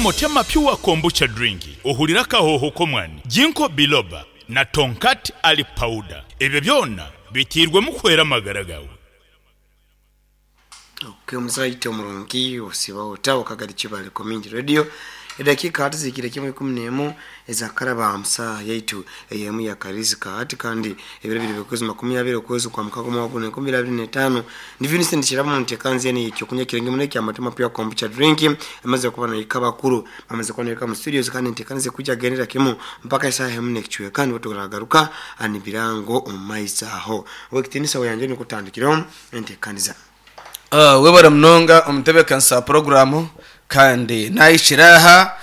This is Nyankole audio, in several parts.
Motema Pure Kombucha Drink ohurire akahooho k'omwani, Ginkgo Biloba na Tongkat Ali Powder. Ebyo byona biteirwemu kuhwera amagara gaawe. Ok omuzaito omurungi osiiba ota Wakagari Kibale Community Radio edakiika tizihikire kimwe 11 ezakaraba omu saaha yaitu ey'emu ya kariisika hati kandi ebiro biri by'okwezi 20 okwezi kwa mukaga omwaka guno 2025 Ndi Vincent Kirabo ntekanzi enu ey'ekyokunywa ekirungi muno ekya Motema Pure Kombucha Drink emaze kuba nahika abakuru bamaze kuba nahika mu studios kandi enteekaniza ekwija kugendera kimu mpaka esaaha emu n'ekicweka nibwo turagaruka nibirango omu maiso aho. Ow'ekitiinisa weyangye nikwo tutandikireho enteekaniza. Webare munonga omutebeekanisa wa puroguraamu kandi naahikire aha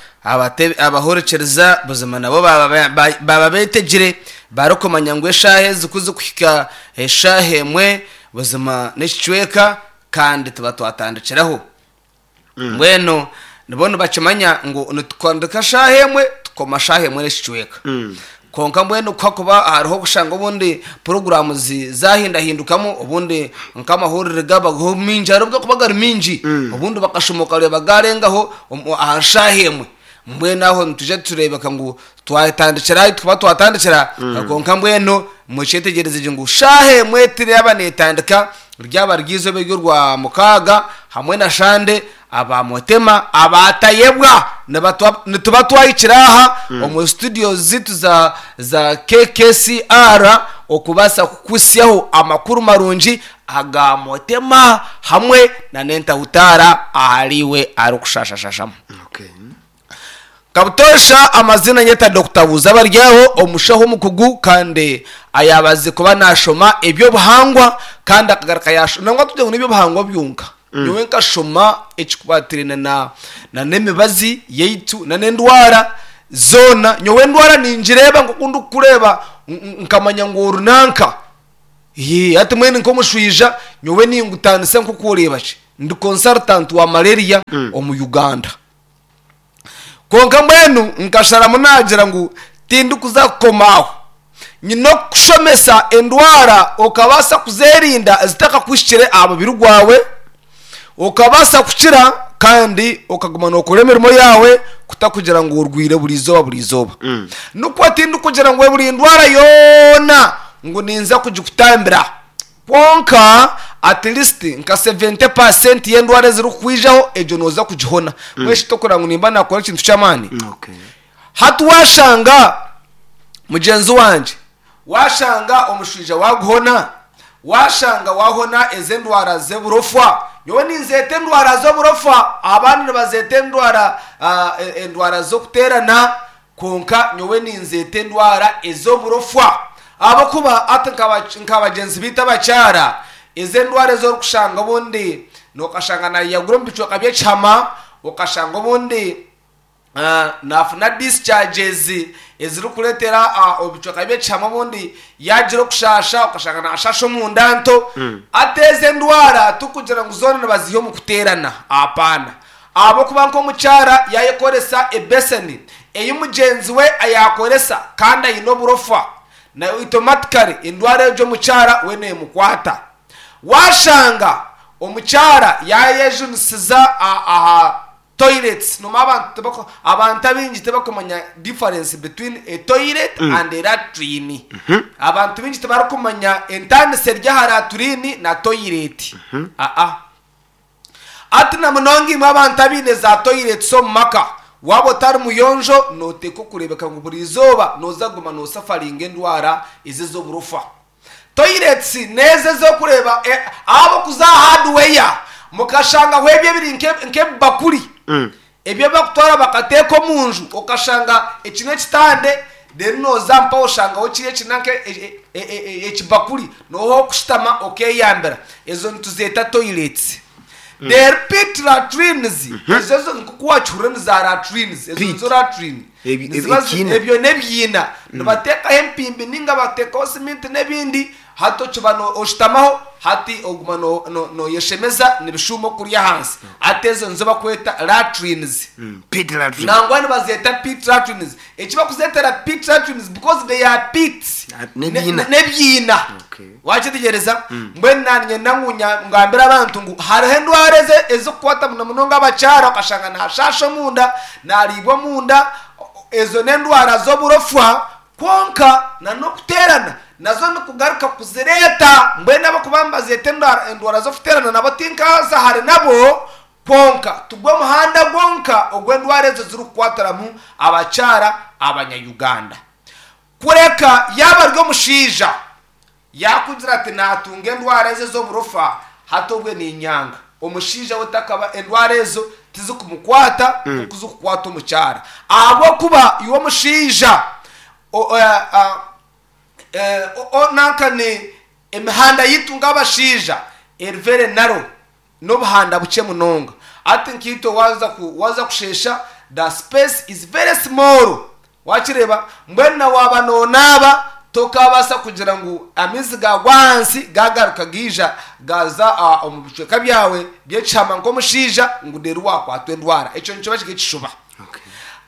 abahurikiriza buzima nabo baaba beetegire barikumanya ngu eshaaha ezi ku zirikuhika eshaaha emwe buzima n'ekicweka kandi tuba twatandikiraho. Mbwenu nibo nibakimanya ngu nitutandika shaaha emwe tukoma shaaha emwe n'ekicweka. Kwonka mbwenu ku hakuba hariho kushanga obundi puroguraamu zaahindahindukamu obundi nk'amahurire gaabaho maingi hariho obu garikuba gari maingi obundi bakashuma okareeba gaarengaho aha shaaha emwe. Mbwenu aho nitwija tureebeka ngu twatandikira ahu turikuba twatandikira kwonka mbwenu mukyetegyereze gye ngu shaaha emwe teraba neetandika ryaba riri eizooba ery'orwamukaaga hamwe na shande aba Motema abaatayebwa nituba twahikire aha omu studio ziitu za za KKCR okubaasa kukuhitsyaho amakuru marungi aga Motema hamwe na n'entahutaara ahariiwe arikushashashashamu. Okay. Nka butoosha amaziina nyeta Dokita Buuzabaryaho, omushaho omukugu kandi ayaabazize kuba naashoma eby'obuhangwa kandi akagaruka yaashoma nangwa tugire ngu n'eby'obuhangwa byonka. Nyowe nkashoma ekikwatiraine na n'emibazi yaitu na n'endwara zoona. Nyowe endwara ningireeba nk'oku ndikukureeba nkamanya ngu oru nanka. Hati mbwenu nk'omushwija nyowe ningutaanisa nk'oku oreeba ki ndi consultant wa malaria omu Uganda. Kwonka mbwenu nkasharamu naagira ngu tindikuza kukoma aho. Nyine okukushomesa endwara okabaasa kuzeerinda zitakakuhikire aha mubiri gwawe, okabaasa kukira kandi okaguma nookora emirimo yaawe kutakugira ngu orwaire buri izooba buri izooba. Nikwo tindikugira ngu buri ndwara yoona ngu ninza kugikutambira. Kwonka at least nka 70% y'endwara ezirikukwijaho egyo nooza kugihona. Mbwenu shi tokureba ngu nimba naakora ekintu ky'amaani? Okay. Hati waashanga mugyenzi wangye, waashanga omushwija waaguhona, waashanga waahona ezi endwara z'oburofwa, nyowe ninzeeta endwara z'oburofwa, abandi nibazeeta endwara endwara z'okuteerana, Kwonka nyowe ninzeeta endwara ez'oburofwa, ahabw'okuba hati nka bagyenzi baitu abakyara, ezi endwara ezi orikushanga obundi nokashanga nayeyagura omu bicweka by'ekihama, okashanga obundi nafuna discharges ezirikureetera ebicweka by'ekihama obundi yagira okushasha, okashanga nashasha omunda nto. Hati ezi endwara tikugira ngu zoona nibaziiha omu kuteerana, hapana. Ahabw'okuba nk'omukyara yaayekoresa ebeseni ei mugyenzi we yaakoresa kandi aine oburofa, na automatically endwara egyo omukyara we neemukwata. Waashanga omukyara yaayejunisiza aha toilets, noomanya abantu tibako, abantu abaingi tibakumanya difference between a toilet and a latrine. Abantu baingi tibarikumanya entaaniso eri aha latrine na toilet. Aa. Hati na munonga imwe abantu abaine za toilets omu maka, waaba otari muyonjo nooteekwa kureebeka ngu buri izooba nooza kuguma noosafaringa endwara ezi ez'oburofa. Toilets n'ezo ez'okureeba ahabw'okuza aha hardware mukashangaho ebyo ebiri nk'ebibakuri ebi ebi bakutwara bakateeka omu nju okashanga eki n'ekitande reero nooza mpaho oshangaho kiri eki nanka ekibakuri nooha okushutama okeyambira ezo nituzeeta toilets. Reero pit latrines ezo zo nk'oku wakihurira ni za latrines ezo Pit. nizo latrine Ebi- Niziba zi- ekiina. ebyo n'ebiina nibateekaho empimbi ninga bateekaho siminti n'ebindi. Hati okiba oshutamaho hati oguma noyeshemeza nibishuuma okurya ahansi. Hati ezo nizo bakweta latrines. Pit latrines. Nangwa nibazeeta pit latrines. Eki bakuzeetera pit latrines because they are pits. N'ebiina. N'ebiina. Okay. Wakyetegyereza? Mbwenu nanye ngu ngambire abantu ngu hariho endwara ezikukwata muno munonga abakyara okashanga nashasha omunda, nariibwa omunda, ezo n'endwara z'oburofwa. Kwonka na n'okuteerana nazo nikugaruka kuzireeta. Mbwenu abakuba nibazeeta endwara z'okuteerana nabo tinkaza hare nabo, kwonka tigwo muhanda gwonka ogu endwara ezo zirikukwatiramu abakyara abanya-Uganda. Kureka yaaba ari omushaija yaakugira ati naatunga endwara ezo ez'oburofa, hati obwe niinyanga. Omushaija we takaba endwara ezo tizikumukwata nk'oku zikukwata omukyara. Ahabw'okuba iwe omushaija nanka ni emihanda yaitu nk'abashaija eri very narrow. N'obuhanda bukye munonga. Hati nkaitwe waaza waaza kusheesha, the space is very small. Waakireeba? Mbwenu na waaba noonaaba, tokaabaasa kugira ngu amaizi gaagwa ahansi gaagaruka gaija gaaza omu bicweka byawe by'ekihama nk'omushaija ngu reero waakwatwa endwara. Ekyo nikiba kiri ekishuba.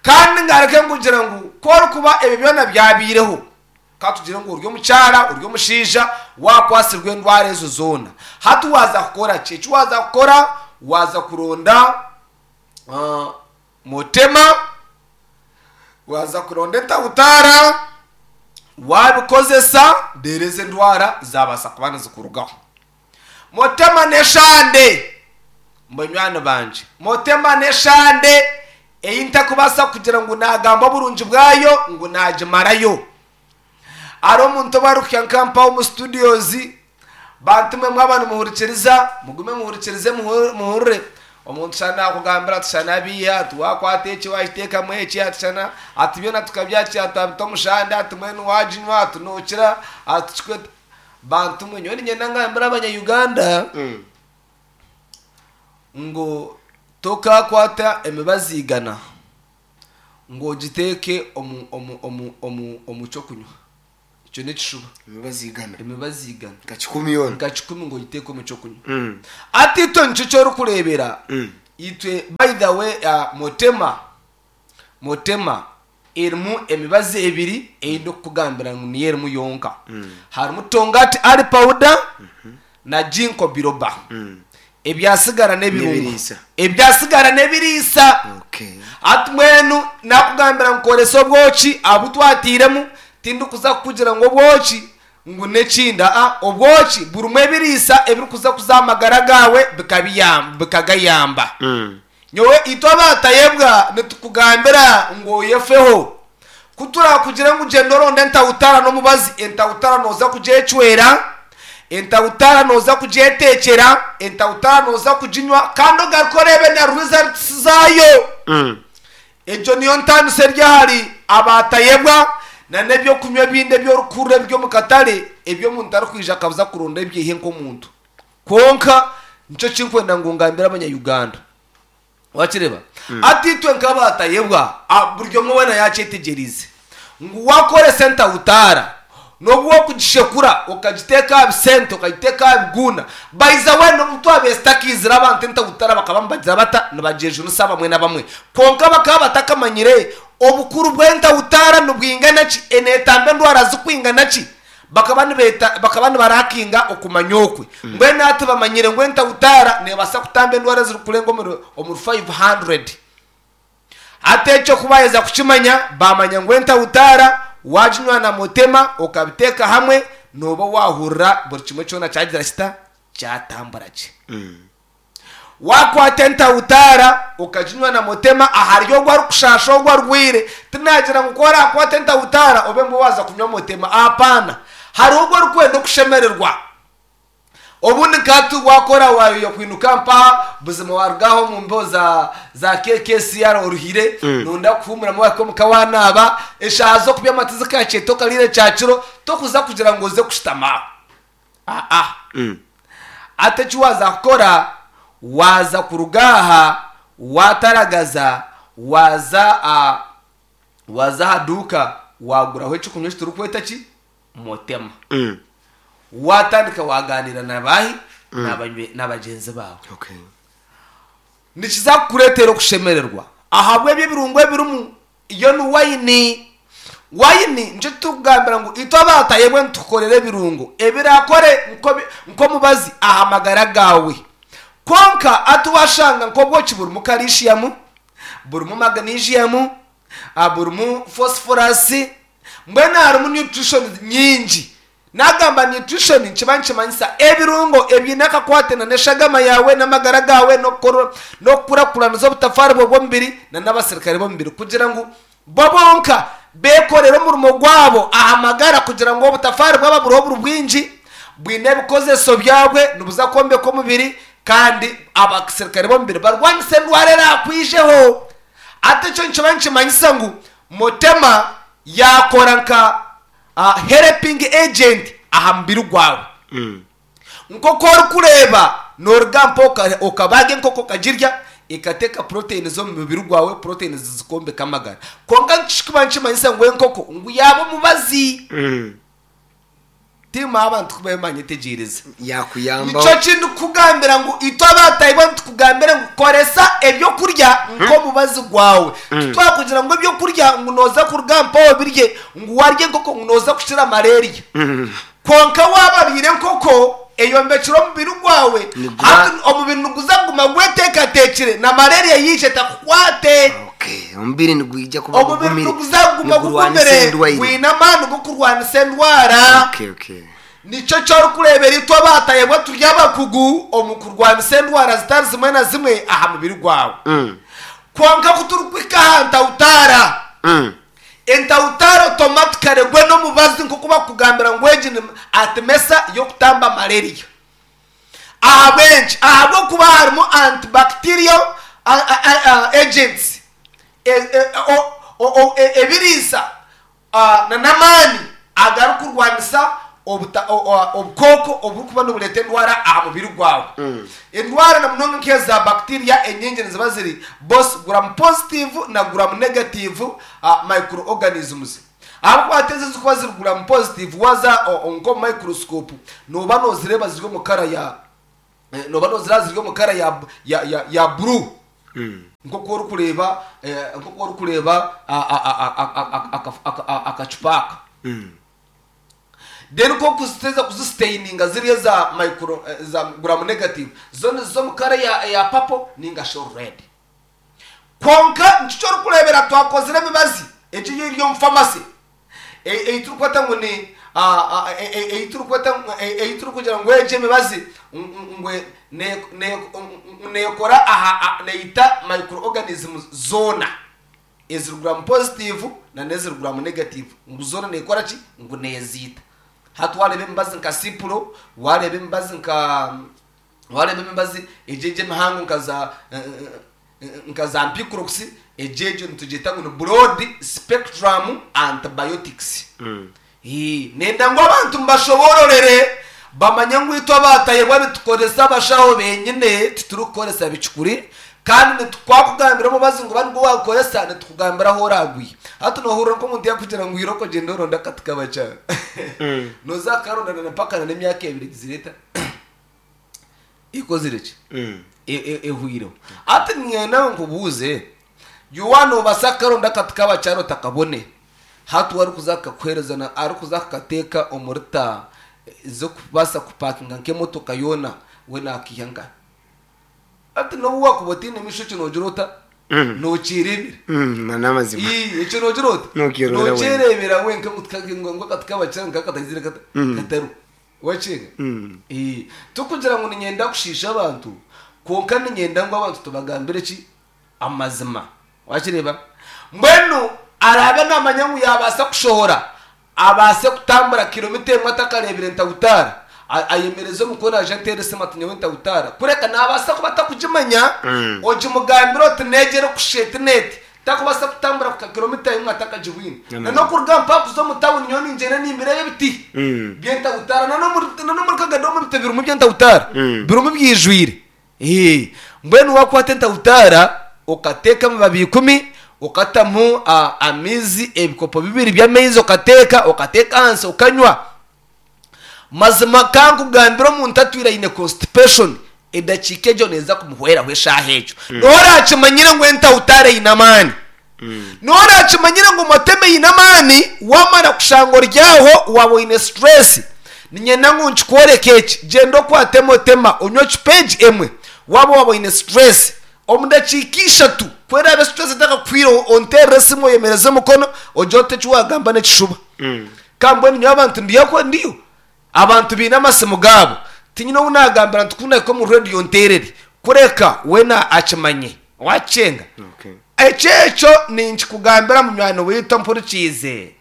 Kandi ngaruke nkugira ngu ku orikuba ebyo byona byabaireho, Ka tugire ngu ori omukyara, ori omushaija, waakwatsirwe endwara ezo zoona. Hati waaza kukora ki? Eki waaza kukora, waaza kuronda motema, waaza kuronda entahutaara, waabikozesa, reero ezo endwara zaabaasa kuba nizikurugaho. Motema n'eshande, banywani bangye, motema n'eshande ei ntarikubaasa kugira ngu naagamba oburungi bwayo ngu naagimarayo. Hariho omuntu obu arikuhika nka mpaho omu studios, bantu imwe mwaba nimuhurikiriza, mugume muhurikirize muhurire. Omuntu shana naakugambira ati shana biiha, ati waakwata eki waakiteekamu eki, ati shana, ati byona tukabyakira twabita omu shande, ati mbwenu waaginywa ati nookira, ati kikweta. Bantu mwe nyowe niinyenda ngambire abanya Uganda ngu tokakwata emibazi igana ngu ogiteeke omu omu omu omu omu ky'okunywa. Ekyo n'ekishuba. Emibazi igana. Emibazi igana. Nka kikumi yoona. Nka kikumi ngu ogiteeke omu ky'okunywa. Hati itwe nikyo eki orikureebera, itwe by the way Motema Motema erimu emibazi ebiri ei ndikukugambira ngu niyo erimu yonka. Harimu Tongati Ali Powder na Ginkgo Biloba. Ebyasigara n'ebirungo. N'ebiriisa. Ebyasigara n'ebiriisa. Okay. Hati mbwenu nakugambira ngu koresa obwoki abu twatairemu, tindikuza kukugira ngu obwoki ngu n'ekindi. Aa, obwoki burimu ebiriisa ebirikuza kuza aha magara gaawe bikabiyamba bikagayamba. Nyowe itwe abaatayebwa nitukugambira ngu oyefeho. Ku turakugire ngu gyenda oronde entahutara n'omubazi, entahutara nooza kugyecwera, entahutara nooza kugyeteekyera, entahutara nooza kuginywa kandi ogaruke oreebe na results zaayo. Egyo niyo ntaaniso eri ahari abaatayebwa na n'eby'okunywa ebindi ebi orikuhurira ebiri omu katare ebi omuntu arikwija akaza kuronda ebyaihe nk'omuntu. Kwonka nikyo kinkwenda ngu ngambire abanya Uganda. Wakireba? Hati itwe nk'abatayebwa, buri omwe weena yakyetegyereize ngu wakoresa entahutaara n'obu wokugishekura okagiteeka aha bisente okagiteeka aha biguuna by the way n'obu twabaire tutakiizire abantu entahutaara bakaba nibagira bata nibagyejunisa abamwe n'abamwe kwonka bakaba batakamanyire obukuru bw'entahutaara nibwingana ki enetamba endwara zikwingana ki Bakaba nibeeta, bakaba nibarakinga okumanya okwe. Mbwenu hati bamanyire ngu entahutaara neebaasa kutamba endwara ezirikurenga omuri, omuri 500. Hati ekyo ku baaheza kukimanya, baamanya ngu entahutaara waaginywa na motema okabiteeka hamwe, nooba waahurira buri kimwe kyona kyagira kita? Kyatambura gye. Waakwata entahutaara okaginywa na motema ahari ogwo arikushaasha ogwo arwaire, tinagira ngu ku oraakwate entahutaara obe mbwe waaza kunywa motema. Apaana. Hariho ogwo orikwenda okushemererwa. Obundi nka hati waakora waayoya kwinuka mpaha, buzima waaruga aha omu mbeho za za KKCR oruhire, nooyenda kuhuumuramu waahika omuka waanaaba, eshaaha z'okubyama tizikaahikire tokariire kyakiro, tokuza kugira ngu oze kushutama aho. Aa. Hati eki waaza kukora, waaza kuruga aha waataragaza, waaza aha waaza aha duuka waaguraho eky'okunywa eki turikweta ki? Motema. Waatandika waagaaniira na baahi? Na bagyenzi baawe. Okay. Nikiza kukureetera okushemererwa ahabw'ebyo ebirungo ebirimu. Iyo ni wayini. Wayini nikyo turikugambira ngu itwe abaatayebwe nitukukorera ebirungo ebiraakore nk'omubazi aha magara gaawe. Kwonka hati waashanga nk'obwoki burimu kalishiyamu, burimu magnesium, burimu phosphorus, mbwenu harimu nutritions nyingi. Naagamba nutrition nikiba nikimanyisa ebirungo ebiine akakwate na n'eshagama yaawe, n'amagara gaawe, n'okukurakuraniza obutafaari bwawe bw'omubiri na n'abasirikare b'omubiri kugira ngu bo bonka beekorere omurimo gwabo aha magara kugira ngu obutafaari bwaba buriho buri bwingi, bwine ebikozeso byabwe, nibuza kwombeka omubiri kandi abasirikare b'omubiri barwanise endwara eraakwijeho. Hati ekyo nikiba nikimanyisa ngu Mutema yaakora nka helping agent aha mubiri gwawe. Nk'oku orikureeba nooruga mpa okabaaga enkoko okagirya, ekateeka proteins omu mubiri gwawe, proteins zikombeka amagara. Kwonka nikikuba nikimanyisa ngu enkoko ngu yaaba omubazi. Tiimu abantu ku bamanyetegyereza. Yakuyambaho. Nikyo ki ndikukugambira ngu itwe abaatahibwa nitukugambira ngu koresa ebyokurya nk'omubazi gwawe. Titwakugira ngu ebyokurya ngu nooza kuruga mpaho obirye ngu warya enkoko ngu nooza kukira malaria. Kwonka waaba oriire enkoko eyombekire omubiri gwawe, Niguba- hati omubiri niguza kuguma gweteekateekire na malaria yaija etakukwate. Okay, omubiri nigwija kuba Omubiri gugumire. niguza kuguma Nigurwanisa gugumire endwaire. gwine amaani g'okurwanisa endwara. Okay, okay. Nikyo eki orikureebera itwe abaatayebwa turi abakugu omu kurwanisa endwara zitari zimwe na zimwe aha mubiri gwawe. Kwonka ku turikuhika aha ntawutaara, entawutaara otomatikare gwe n'omubazi nk'oku bakugambira ngu egi ni atimesa y'okutamba malaria. Ahabw'enki? Ahabw'okuba harimu antibacterial agents, ebiriisa n'amaani agarikurwanisa obukooko oburikuba nibureeta endwara aha mubiri gwawe. Endwara na munonga nk'eza bacteria enyingi niziba ziri both gram positive na gram negative microorganisms. Ahabw'okuba hati ezi ezirikuba ziri gram positive waaza nk'omu microscope nooba noozireeba ziri omu kara ya nooba noozireeba ziri omu kara ya blue. Nk'oku orikureeba nk'oku orikureeba akacupa aka. Then ku orikuziteeza kuzisiteininga ziri eza micro eza gram negative zo niziza omu kara eya purple ninga shi red. Kwonka nikyo orikureebera twakozire emibazi egi eri omu famasi ei turikweta ngu ni ei turikweta ei turikugira ngu egi emibazi ngu neekora aha neita microorganisms zoona eziri gram positive nana eziri gram negative ngu zoona neekora ki? Ngu neeziita. Hati waareeba emibazi nka Cipro, waareeba emibazi nka Wareeba emibazi egyo egyo emihango nka za nka za Ampiclox, egyo egyo nitugyeta ngu ni broad spectrum antibiotics. Ii, Nenda ngu abantu mbashoboororere bamanye ngu itwe abaatayebwa nitukoresa abashaho benyine titurikukoresa bicukuri kandi nitukwakugambira omubazi ngu ba nigwo waagukoresa nitukugambira ahu oraagwihe. Hati noohurira nk'omuntu yaakugira ngu irooko gyenda oronde akati kabakyara. Nooza kukaronda na mpaka na n'emyaka ebiri egizire eta. Ekozire ki? Ehwireho. Hati niinyenda nkubuuze, iwe waaba noobaasa kukaronda akati k'abakyara otakabone, hati we arikuza kukakuheereza na arikuza kukateeka omuri ta z'okubaasa kupakinga nk'emotoka yoona, we naakiiha nkahi? Hati n'obu waakuba otaine maisho ekyo noogira ota? Nookyereebera. N'amazima. Ii, ekyo noogira ota? Nookyereebera wenka. Nookyereebera wenka ngu ngu akati k'abakyara nk'aka kataizire kata? Katariho. Wakiga? Ee. Tikugira ngu niinyenda kushiisha abantu, kwonka niinyenda ngu abantu tubagambire ki? Amazima. Wakireeba? Mbwenu araabe naamanya ngu yaabaasa kushohora, abaase kutambura kilomita emwe atakareebire ntawutaara, ayemereze omukono aije anteere esimu ati nyowe ntawutaara. Kureka naabaasa kuba atakugimanya, ogimugambire oti n'egi erikushusha eti n'eti. Takubaasa kutambura kuhika kilomita emwe atakagibwine. Amazima. Na n'okuruga mpaka kuza omu tawuni nyowe ningyenda nimbireeba ebiti by'entawutaara. Na n'omuri na n'omuri Kagadomu ebiti birimu by'entawutaara birimu byijwire. Ee, mbwenu waakwata entawutaara okateeka amababi ikumi, okatamu amaizi ebikopo bibiri by'amaizi okateeka, okateeka ahansi okanywa. Mazima ka nkugambire omuntu atwire aine constipation edakiika egyo neeza kumuhweraho eshaaha egyo. Noha orakimanyire ngu entahutara eine amaani? Noha orakimanyire ngu motema eine amaani? Wamara kushanga ori aho waaba oine stress, niinyenda ngu nkikworeke eki, gyenda okwate motema onywe ecupa egi emwe waaba waaba oine stress. Omu dakiika ishatu ku eraabe stress etakakuhwireho onteerere esimu oyemereze omukono ogire oti eki waagamba n'ekishuba. Ka mbwenu nyowe abantu ndiyo ndiyo abantu baine amasimu gaabo tinyine ou naagambira nti ku nahika omu rediyo nteerere kureka weena akimanye waakyenga. Okay. Ekyo ekyo ninkikugambira munywani waitu ompurikiize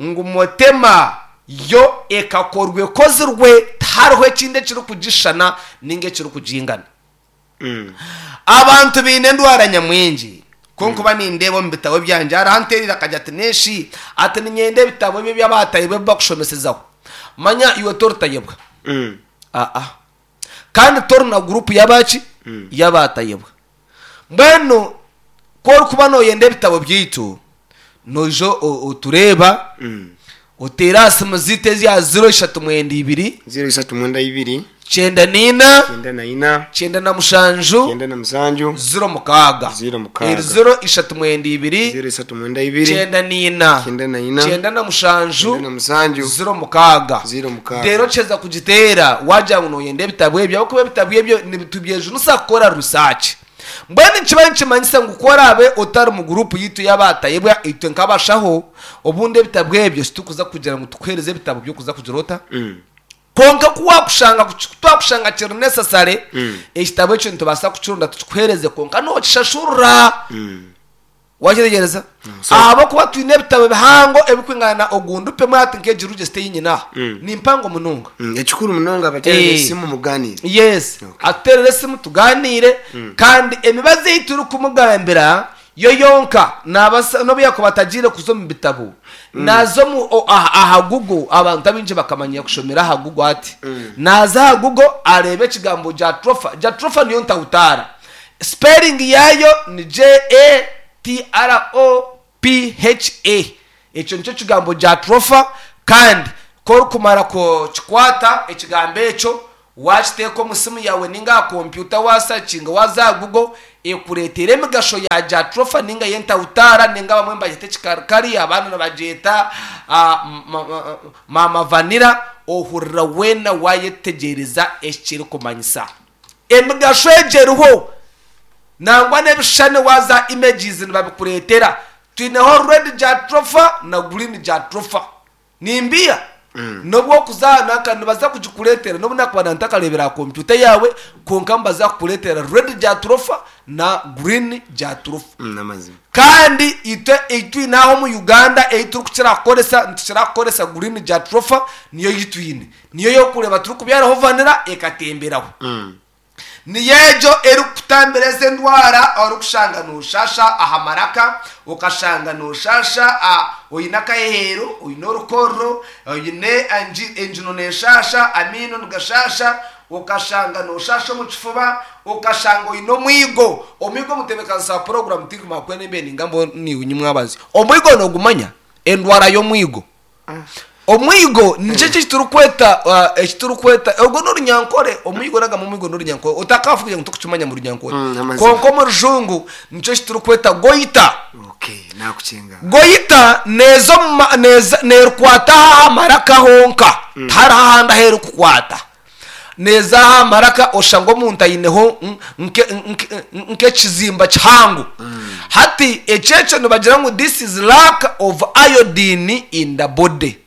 ngu Motema yo ekakorwa ekozirwe tihariho ekindi ekirikugishushana ninga ekirikugingana. Abantu baine endwara nyamwingi. Ku nkuba nindeeba omu bitabo byangye, hariho anteereire akagira ati, Neshi, ati niinyenda ebitabo ebi eby'abaatayebwa ebi bakushomesezaho. Manya iwe toritayebwa. Aa. Kandi tori na guruupu y'abaki? Y'abaatayebwa. Mbwenu ku orikuba nooyenda ebitabo byaitu, noija otureeba, oteere aha simu zaitu eza ziro ishatu mwenda ibiri, 0392, 94, 94, 97, 97, 06. 06. Eri 0392, 0392, 94, 94, 97, 97, 06. 06. Reero kiheza kugiteera waagira ngu nooyenda ebitabo ebyo ahabw'okuba ebitabo ebyo nitubyejunisa kukora research. Mbwenu nikiba nikimanyisa ngu ku oraabe otari mu guruupu yaitu y'abaatayebwa itwe nk'abashaho, obundi ebitabo ebyo titurikuza kugira ngu tukuheereze ebitabo by'okuza kugira ota? Kwonka ku waakushanga ku twakushanga kiri necessary, ekitabo ekyo nitubaasa kukironda tukikuheereze kwonka nookishashurira. Wakyetegyereza? Ahabw'okuba twine ebitabo bihango ebirikwingana na ogundi pemu hati nk'egi register ei nyine aha. Ni mpango munonga. Ekikuru munonga abateerere esimu mugaaniire. Yes. Okay. Atuteerere esimu tugaaniire kandi emibazi ei turikumugambira yo yonka naabaasa n'obu yaakuba atagiire kuza omu bitabo, naaza omu o- aha aha Google abantu abaingi bakamanya kushomera aha Google hati. Naaza aha Google areebe ekigambo Jatropha. Jatropha niyo ntahutaara. Spelling yaayo ni J-A-T-R-O-P-H-A. Ekyo nikyo kigambo jatropha kandi ku orikumara kukikwata ekigambo ekyo waakiteeka omu simu yaawe ninga aha kompyuta waasakinga waaza aha Google ekureetera emigasho ya jatropha ninga y'entahutaara ninga abamwe nibagyeta ekikarikari abandi nibagyeta maama vanilla ohurira weena waayetegyereza eki kirikumanyisa. Emigasho egyo eriho nangwa n'ebishushani waaza images nibabikureetera. Twineho red jatropha na green jatropha. Nimbiha? N'obu orikuza aha nanka nibaza kugikureetera n'obu nakuba nantakareebire aha kompyuta yaawe kwonka nibaza kukureetera red jatropha na green jatropha. N'amazima. Kandi itwe ei twine aha omu Uganda ei turikukira kukoresa nitukira kukoresa green jatropha niyo ei twine. Niyo y'okureeba turikubyaraho vanilla ekatemberaho. Niyo egyo erikukutambira ezi endwara orikushanga noshasha aha maraka, okashanga noshasha oine akaheheero, oine orukorro, oine enjino neshasha, amaino nigashasha, okashanga noshasha omu kifuba, okashanga oine omwigo. Omwigo omutebeekanisa wa puroguraamu tinkumanya ku embe ningamba niiwe nyimwabazi. Omwigo nogumanya? Endwara y'omwigo. Omwigo nikyo eki ekiturikweta ekiturikweta orwo n'orunyankore omwigo nagamba omwigo n'orunyankore otakaafa kugira ngu tokukimanya mu runyankore Mm, amazima. kwonka omu rujungu nikyo eki turikweta goita Okay, nakukinga. goita neeza omu ma- neeza neerukwata aha maraka honka tihariho ahandi ahu erikukwata Neeza aha maraka oshusha ngu omuntu aineho nk'ekizimba kihango. Hati ekyo ekyo nibagira ngu this is lack of iodine in the body.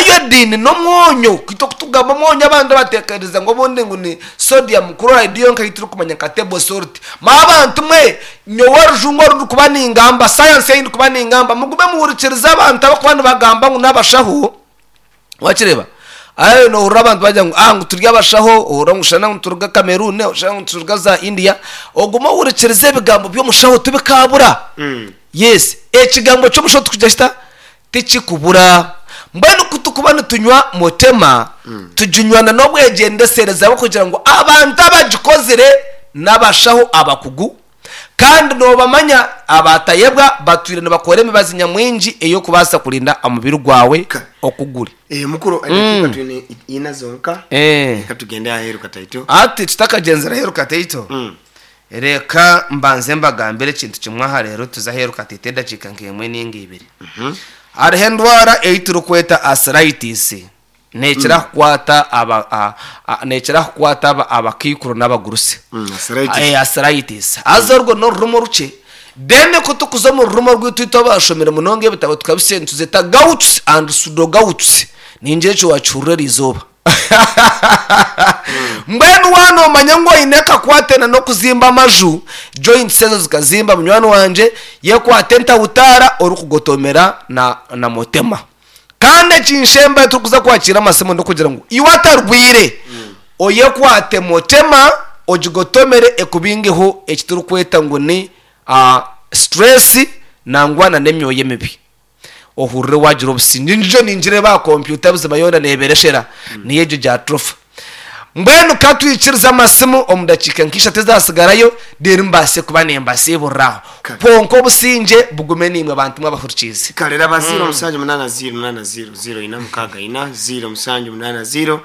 Iodine n'omwonyo, itwe ku tugamba omwonyo abandi batekereza ngu obundi ngu ni sodium chloride yonka ei turikumanya nka table salt. Mwabantu mwe, nyowe orujungu oru ndikuba ningamba, sayansi ei ndikuba ningamba, mugume muhurikirize abantu abarikuba nibagamba ngu n'abashaho. Wakireeba? Aye nohurira abantu bagira ngu ah ngu turi abashaho, ohurira ngu shana ngu nituruga Cameroon, oshana ngu nituruga za India. Ogume ohurikirize ebigambo by'omushaho tibikaabura. Yes, ekigambo ky'omushaho tikugira kita? Tikikubura. Mbwenu ku tukuba nitunywa Motema, tuginywa na n'obwegyendesereza bw'okugira ngu abantu abagikozire n'abashaho abakugu, Kandi noobamanya abaatayebwa batwire nibakora emibazi nyamwingi ey'okubaasa kurinda omubiri gwawe Ka. Oku guri. Eh, mukuru edakiika twine ina zonka. Eh. Reka tugende aheeru kataito. Hati tutakagyenzire aheeru kataito, reka mbanze mbagambire ekintu kimwe aha reero tuze aheeru kataito edakiika nk'emwe ninga ibiri. Hariho endwara ei turikweta arthritis. Neekira kukwata aba, a, a, neekira kukwata aba, abakaikuru n'abagurusi. Arthritis. Eh, arthritis. Haza orwo n'orurimu orukye. Then ku turikuza omu rurimu orwaitu itwe abashomire munonga ebitabo tukabisya nituzeta gouts and pseudogouts. Ningira ekyo wakihurira eriizooba. Mbwenu waaba noomanya ngu oine akakwate na n'okuzimba amaju, joints ezo zikazimba munywani wangye, yekwate entahutaara orikugotomera na, na motema. Kandi ekinshemba turikuza kwakiira amasimu n'okugira ngu iwe atarwire oyekwate motema ogigotomere ekubingeho eki turikweta ngu ni stress nangwa na n'emyoyo emibi ohurire wagira obusingye. Ngijo ningireeba aha kompyuta buzima yoona neebereshera niyo egyo gyatrofa. Mbwenu ka twikirize amasimu omu dakiika nk'ishatu ezaatsigarayo, reero mbaase kuba nimbasiiburira aho. Kare. Kwonka obusingye bugume naimwe bantu mwe abahurikiize. Kare raba 0 mushanju munaana 0 munaana 0 0 ina mukaaga ina 0 mushanju munaana 0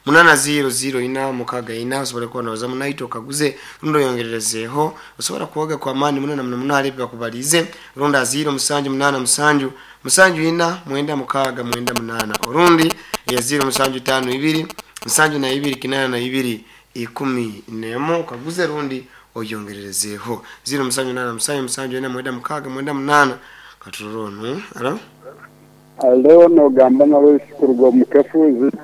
munaana 0 0 ina mukaaga ina osobole kuba noozamu naitwe okaguze rundi oyongererezeeho osobora kuwaga kw'amaani muno na muno muno ahari ebi bakubariize rundi aha 0 mushanju munaana mushanju mushanju ina mwenda mukaaga mwenda munaana orundi eya 0 mushanju itaano ibiri Nsanju na ibiri kinaana na ibiri 11 okaguze rundi oyongererezeeho ziro musanju munaana musanju musanju ena mwenda mukaaga mwenda munaana katurore onu alo. Alo nogamba na Lois kuruga omu Kafuuzi.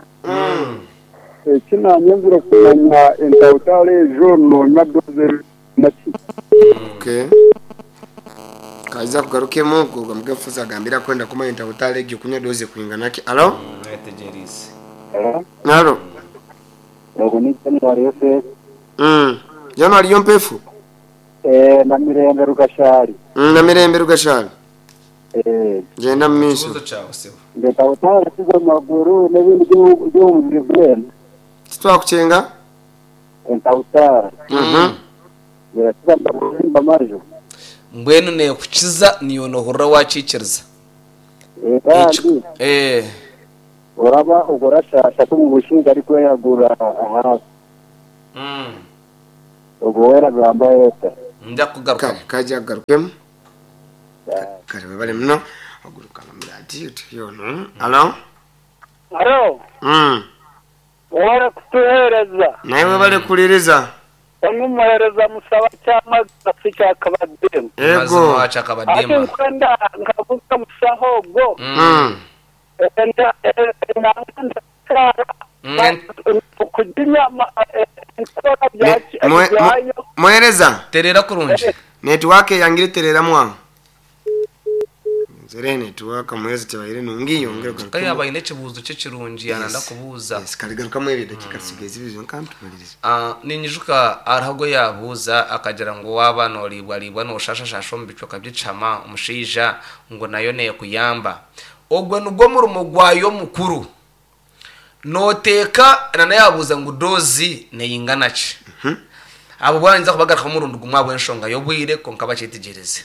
Eki nanyenzire kumanya entawutaara ejo nonywa doze eri ki? Okay. Kaija kugarukemu kuruga omu Kafuuzi agambire akwenda kumanya entawutaara egyo kunywa doze kwingana ki. Alo. Mwetegyereize. Alo. Ogu ni January Yosef. January Yompefu. Eh, na Mirembe Rugashari. Na Mirembe Rugashari. Eh. Gyenda mu maisho. Ekibuuzo kyawe sebo. Ndeta otarakiza amaguru n'ebindi by'omubiri gwena. Titwakukyenga. Entawutara. Birakiza amaguru amaju. Mbwenu neekukiza niiwe noohurira waakiikiriza. Eh, kandi Eh. oraba ogwo orashaasha ku omu bushinge arikweyagura ahaasi. Ogwo we aragamba eta? Nja kugarukamu. Kare kaija kugarukemu. Kare webale muno. Oguruka nomura ati oti ono. Alo. Alo. Webale kutuheereza. Naiwe webale kuhuririza. Onu muheereza Musaba Kyamagana si Kyakabadiima. Ego. Mazima Hati Kyakabadiima. nkwenda nkabuuza omushaho ogwo. Muhereza. Terera kurungi. Netiwaka eyangire tereramu aho. Nzere netiwaka muhereza tebaire nungi yongere Ka ogarukemu. yaaba aine ekibuuzo kye kirungi yaananda kubuuza. Yes, kare garukamu ebyo edakiika tusigaire zibiri zonka tumalirize. Ninyijuka hariho ogu yaabuuza akagira ngu waaba nooriibwariibwa nooshashashasha omu bicweka by'ekihama omushaija ngu nayo neekuyamba. Ogwo nigwo murimo gwayo mukuru. Nooteeka na yaabuuza ngu doozi neingana ki? Abo boona ninza kubagarukamu omurundi gumwe ahabw'enshonga y'obwire kwonka bakyetegyereze.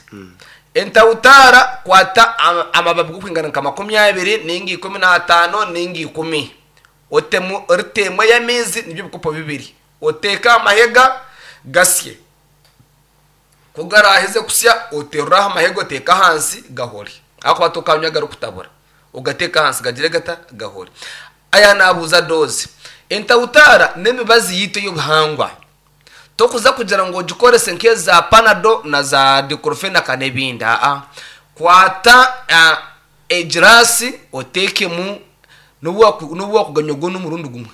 Entawutaara kwata amababi g'okwingana nka 20 nainga 15 nainga 10 otemu rita emwe y'amaizi nibyo bikopo bibiri oteeke aha mahega gasye. Ku garaaheze kusya, oterure aha mahega oteeke ahansi gahore. Ahakuba tokanywa garikutabura. Ogateeke ahansi gagire gata? Gahore. Aya naabuuza doozi. Entawutaara n'emibazi yaitu ey'obuhangwa. Tokuza kugira ngu ogikorese nk'eza panado na za diclofenac n'ebindi. Aa. Kwata egiraasi oteekemu n'obu waakuganywa gwona omurundi gumwe.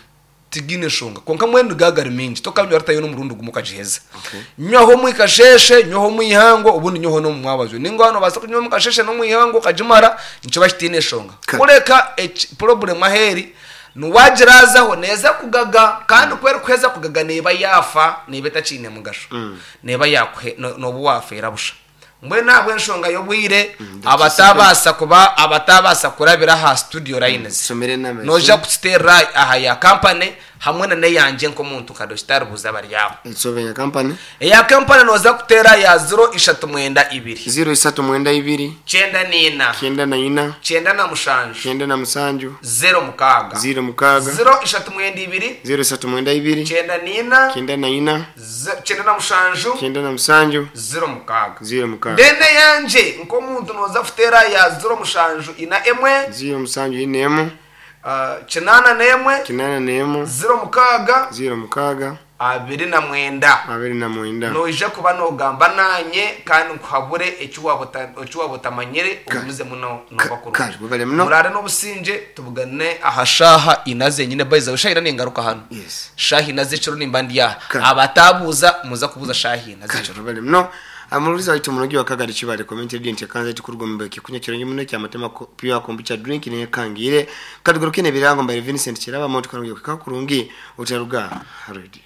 Tigiine nshonga. Kwonka mbwenu gaba gari maingi, tokanywa ritayo n'omurundi gumwe okagiheza. Nywaho omu kasheeshe, nywaho omu ihangwe, obundi nywaho n'omu mwabazyo. Nainga waaba noobaasa kunywa omu kasheeshe n'omu ihangwe okagimara, nikiba kitaine nshonga. Kureka purobulemu ahu eri, ni waagiraazaho neeza kugaga, kandi ku erikuheza kugaga neeba yaafa, neeba etakiine mugasho. Neeba yaakuhe, nooba waafeera busha. Mbwenu ahabw'enshonga y'obwire, abataabaasa kuba abataabaasa kurabira aha studio lines, Tusomere enamba noija esimu. kukiteerera aha ya kampani. Hamwe na n'eyangye nk'omuntu nka Dokitaari Buuza Baryaho. Etsobe ya kampani. Eya kampani nooza kuteera ya ziro ishatu mwenda ibiri. Ziro isatu mwenda ibiri. 94. 94. 97. 97. 06. 06. 032. 032. 94. 94. 97. 97. 06. 06. Then eyangye nk'omuntu nooza kuteera ya 074. 074. 81. 81. 06. 06. 29. 29. Noija kuba nogamba nanye kandi nkuhabure eki waba otamanyire ogumizemu nooba Kare, kurungi. webale muno. Muraare n'obusingye tubugane aha shaaha ina zenyine by the way shaaha ina ningaruka hanu. Yes. Shaaha ina z'ekiro nimba ndi aha. Kare. Abataabuuza muza kubuuza shaaha ina Kare, z'ekiro. webale muno. Amuruliza waitu munogi wa Kagari Kibale Community Radio nti kanza tukurugo mbeke kunya kirungi muno kya matema pure kombucha drink ne kangire katugaruke ne birango mbere Vincent Kiraba moto kangi kakurungi utaruga radio.